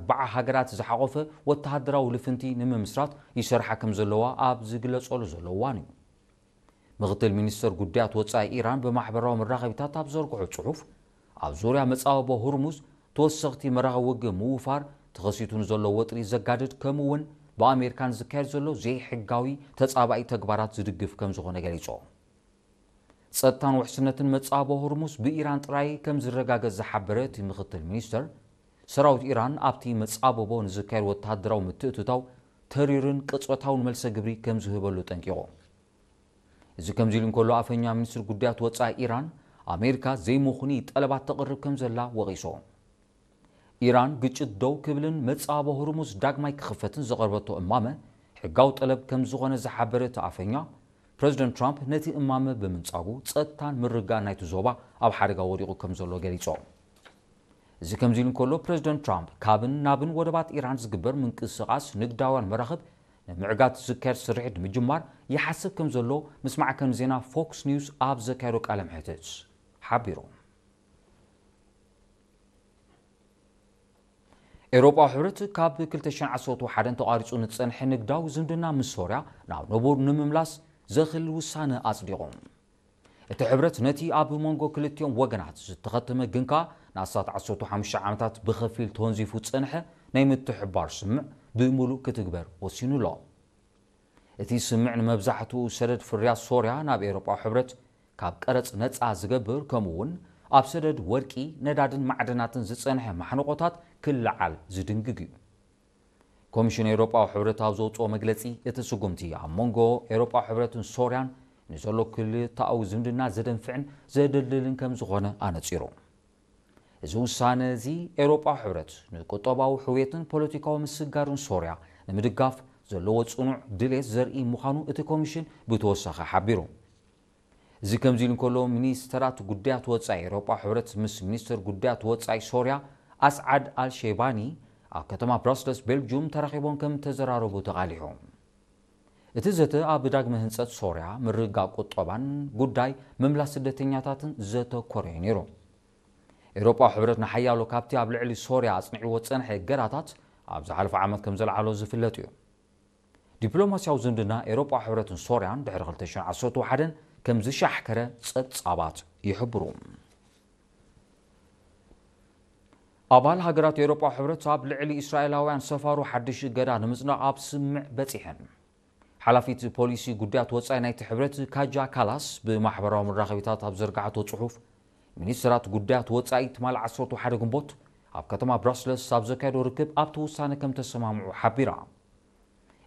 ኣርባዓ ሃገራት ዝሓቖፈ ወተሃደራዊ ልፍንቲ ንምምስራት ይሰርሓ ከም ዘለዋ ኣብ ዝግለጸሉ ዘሎ እዋን እዩ። ምኽትል ሚኒስተር ጉዳያት ወጻኢ ኢራን ብማሕበራዊ መራኸቢታት ኣብ ዘርግሖ ጽሑፍ፣ ኣብ ዙርያ መጻብቦ ሁርሙዝ ተወሰኽቲ መራኸቢ ውግእ ምውፋር፣ ተኸሲቱ ንዘሎ ወጥሪ ዘጋድድ፣ ከምኡ እውን ብኣሜሪካን ዝካየድ ዘሎ ዘይሕጋዊ ተጻባኢ ተግባራት ዝድግፍ ከም ዝኾነ ገሊጹ። ጸጥታን ውሕስነትን መጻብቦ ሆርሙዝ ብኢራን ጥራይ ከም ዝረጋገጽ ዝሓበረ እቲ ምኽትል ሚኒስተር፣ ሰራዊት ኢራን ኣብቲ መጻብቦ ንዝካየድ ወተሃደራዊ ምትእትታው ተሪርን ቅጽበታውን መልሰ ግብሪ ከም ዝህበሉ ጠንቂቑ። እዚ ከምዚ ኢሉ እንከሎ፣ ኣፈኛ ሚኒስትሪ ጉዳያት ወጻኢ ኢራን፣ ኣሜሪካ ዘይምኹኒ ጠለባት ተቕርብ ከም ዘላ ወቒሱ። ኢራን ግጭት ደው ክብልን መጻብቦ ሆርሙዝ ዳግማይ ክኽፈትን ዘቐርበቶ እማመ ሕጋዊ ጠለብ ከም ዝኾነ ዝሓበረ እቲ ኣፈኛ፣ ፕረዚደንት ትራምፕ ነቲ እማመ ብምንጻጉ ጸጥታን ምርግጋእን ናይቲ ዞባ ኣብ ሓደጋ ወዲቑ ከም ዘሎ ገሊጹ። እዚ ከምዚ ኢሉ እንከሎ፣ ፕረዚደንት ትራምፕ ካብን ናብን ወደባት ኢራን ዝግበር ምንቅስቓስ ንግዳውያን መራኽብ ንምዕጋት ዝካየድ ስርሒት ንምጅማር ይሓስብ ከም ዘሎ ምስ ማዕከን ዜና ፎክስ ኒውስ ኣብ ዘካየዶ ቃለ መሕትት ሓቢሩ። ኤውሮጳዊ ሕብረት ካብ ክልተ ሽሕን ዓሰርተ ሓደን ተቋሪጹ ንጸንሐ ንግዳዊ ዝምድና ምስ ሶርያ ናብ ንቡር ንምምላስ ዘኽእል ውሳነ ኣጽዲቑ። እቲ ሕብረት ነቲ ኣብ መንጎ ክልቲኦም ወገናት ዝተኸተመ ግን ከኣ ንኣስታት ዓሰርተ ሓሙሽተ ዓመታት ብኸፊል ተወንዚፉ ዝጸንሐ ናይ ምትሕብባር ስምምዕ ብምሉእ ክትግበር ወሲኑ ኣሎ። እቲ ስምምዕ ንመብዛሕትኡ ሰደድ ፍርያት ሶርያ ናብ ኤውሮጳዊ ሕብረት ካብ ቀረጽ ነጻ ዝገብር፣ ከምኡ እውን ኣብ ሰደድ ወርቂ፣ ነዳድን ማዕድናትን ዝጸንሐ ማሕንቖታት ክለዓል ዝድንግግ እዩ። ኮሚሽን ኤውሮጳዊ ሕብረት ኣብ ዘውጽኦ መግለጺ፣ እቲ ስጉምቲ ኣብ መንጎ ኤውሮጳዊ ሕብረትን ሶርያን ንዘሎ ክልተኣዊ ዝምድና ዘደንፍዕን ዘደልድልን ከም ዝኾነ ኣነጺሩ። እዚ ውሳነ እዚ ኤውሮጳዊ ሕብረት ንቁጠባዊ ሕውየትን ፖለቲካዊ ምስግጋርን ሶርያ ንምድጋፍ ዘለዎ ጽኑዕ ድሌት ዘርኢ ምዃኑ እቲ ኮሚሽን ብተወሳኺ ሓቢሩ። እዚ ከምዚ ኢሉ እንከሎ፣ ሚኒስተራት ጉዳያት ወጻኢ ኤውሮጳ ሕብረት ምስ ሚኒስተር ጉዳያት ወጻኢ ሶርያ ኣስዓድ ኣልሼባኒ ኣብ ከተማ ብራስለስ ቤልጅዩም ተራኺቦም ከም ተዘራረቡ ተቓሊሑ። እቲ ዘተ ኣብ ዳግመ ህንጸት ሶርያ፣ ምርግጋእ ቁጠባን ጉዳይ ምምላስ ስደተኛታትን ዘተኮረ እዩ ነይሩ። ኤውሮጳ ሕብረት ንሓያሎ ካብቲ ኣብ ልዕሊ ሶርያ ኣጽኒዕዎ ዝጸንሐ እገዳታት ኣብ ዝሓለፈ ዓመት ከም ዘልዓሎ ዝፍለጥ እዩ። ዲፕሎማስያዊ ዝምድና ኤውሮጳ ሕብረትን ሶርያን ድሕሪ ክልተ ሽሕን ዓሰርተ ሓደን ከም ዝሻሕከረ ጸብጻባት ይሕብሩ። ኣባል ሃገራት ኤውሮጳ ሕብረት ኣብ ልዕሊ እስራኤላውያን ሰፋሮ ሓድሽ እገዳ ንምጽናቕ ኣብ ስምምዕ በጺሐን። ሓላፊት ፖሊሲ ጉዳያት ወጻኢ ናይቲ ሕብረት ካጃ ካላስ ብማሕበራዊ መራኸቢታት ኣብ ዘርጋሕቶ ጽሑፍ፣ ሚኒስትራት ጉዳያት ወጻኢ ትማሊ ዓሰርተ ሓደ ግንቦት ኣብ ከተማ ብራስለስ ኣብ ዘካየዶ ርክብ ኣብቲ ውሳነ ከም ተሰማምዑ ሓቢራ።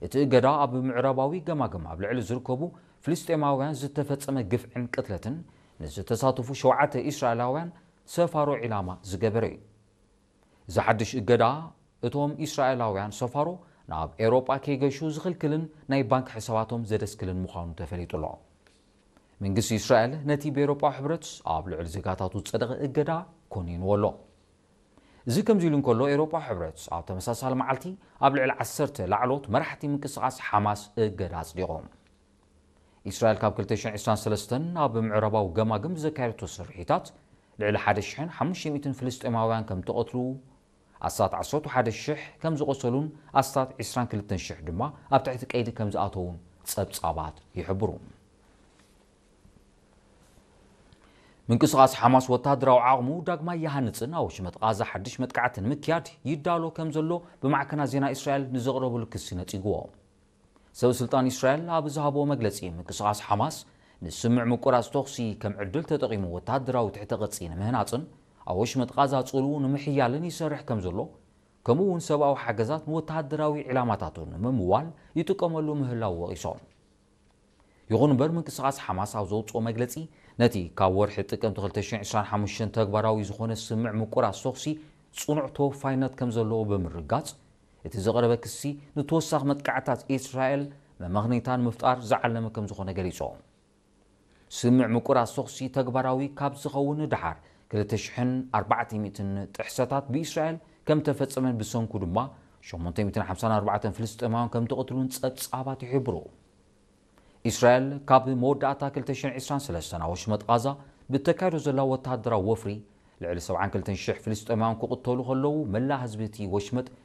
እቲ እገዳ ኣብ ምዕራባዊ ገማግም ኣብ ልዕሊ ዝርከቡ ፍልስጤማውያን ዝተፈጸመ ግፍዕን ቅትለትን ንዝተሳተፉ ሸውዓተ እስራኤላውያን ሰፋሮ ዒላማ ዝገበረ እዩ። እዚ ሓድሽ እገዳ እቶም እስራኤላውያን ሰፋሮ ናብ ኤውሮጳ ከይገሹ ዝኽልክልን ናይ ባንክ ሕሳባቶም ዘደስክልን ምዃኑ ተፈሊጡ ኣሎ። መንግስቲ እስራኤል ነቲ ብኤውሮጳ ሕብረት ኣብ ልዕሊ ዜጋታቱ ዝጸደቐ እገዳ ኮኒንዎ ኣሎ። እዚ ከምዚ ኢሉ እንከሎ፣ ኤውሮጳ ሕብረት ኣብ ተመሳሳሊ መዓልቲ ኣብ ልዕሊ ዓሰርተ ላዕሎት መራሕቲ ምንቅስቓስ ሓማስ እገዳ ኣጽዲቑ። እስራኤል ካብ ክልተ ሽሕን ዕስራን ሰለስተን ኣብ ምዕራባዊ ገማግም ብዘካየደቶ ስርሒታት ልዕሊ ሓደ ሽሕን ሓሙሽተ ሚእትን ፍልስጤማውያን ከም ተቐትሉ፣ ኣስታት ዓሰርተ ሓደ ሽሕ ከም ዝቖሰሉን ኣስታት ዕስራን ክልተን ሽሕ ድማ ኣብ ትሕቲ ቀይዲ ከም ዝኣተዉን ጸብጻባት ይሕብሩ። ምንቅስቓስ ሓማስ ወተሃደራዊ ዓቕሙ ዳግማይ ይሃንጽን ኣብ ወሽመጥ ቓዛ ሓድሽ መጥቃዕቲ ንምክያድ ይዳሎ ከም ዘሎ ብማዕከናት ዜና እስራኤል ንዘቕረብሉ ክሲ ነጺግዎ። ሰብ ስልጣን እስራኤል ኣብ ዝሃብዎ መግለጺ፣ ምንቅስቓስ ሓማስ ንስምምዕ ምቁራጽ ተኹሲ ከም ዕድል ተጠቒሙ ወተሃደራዊ ትሕተ ቅርጺ ንምህናጽን ኣብ ወሽመጥ ቓዛ ጽልኡ ንምሕያልን ይሰርሕ ከም ዘሎ፣ ከምኡ እውን ሰብኣዊ ሓገዛት ንወተሃደራዊ ዒላማታቱ ንምምዋል ይጥቀመሉ ምህላው ወቒሶም። ይኹን እምበር፣ ምንቅስቓስ ሓማስ ኣብ ዘውጽኦ መግለጺ፣ ነቲ ካብ ወርሒ ጥቅምቲ ክልተ ሽሕን ዕስራን ሓሙሽተን ተግባራዊ ዝኾነ ስምምዕ ምቁራጽ ተኹሲ ጽኑዕ ተወፋይነት ከም ዘለዎ ብምርጋጽ፣ እቲ ዝቐረበ ክሲ ንተወሳኺ መጥቃዕታት እስራኤል መመኽነይታ ንምፍጣር ዝዓለመ ከም ዝኾነ ገሊጹ። ስምምዕ ምቁራጽ ተኹሲ ተግባራዊ ካብ ዝኸውን ንደሓር፣ ክልተ ሽሕን ኣርባዕተ ሚእትን ጥሕሰታት ብእስራኤል ከም ተፈጸመን ብሰንኩ ድማ ሸሞንተ ሚእትን ሓምሳን ኣርባዕተን ፍልስጤማውያን ከም ተቐትሉን ጸብጻባት ይሕብሩ። እስራኤል ካብ መወዳእታ ክልተ ሽሕን ዕስራን ሰለስተን ኣብ ወሽመጥ ቓዛ ብተካይዶ ዘላ ወተሃደራዊ ወፍሪ፣ ልዕሊ ሰብዓን ክልተን ሽሕ ፍልስጤማውያን ክቕተሉ ከለዉ፣ መላእ ህዝቢ እቲ ወሽመጥ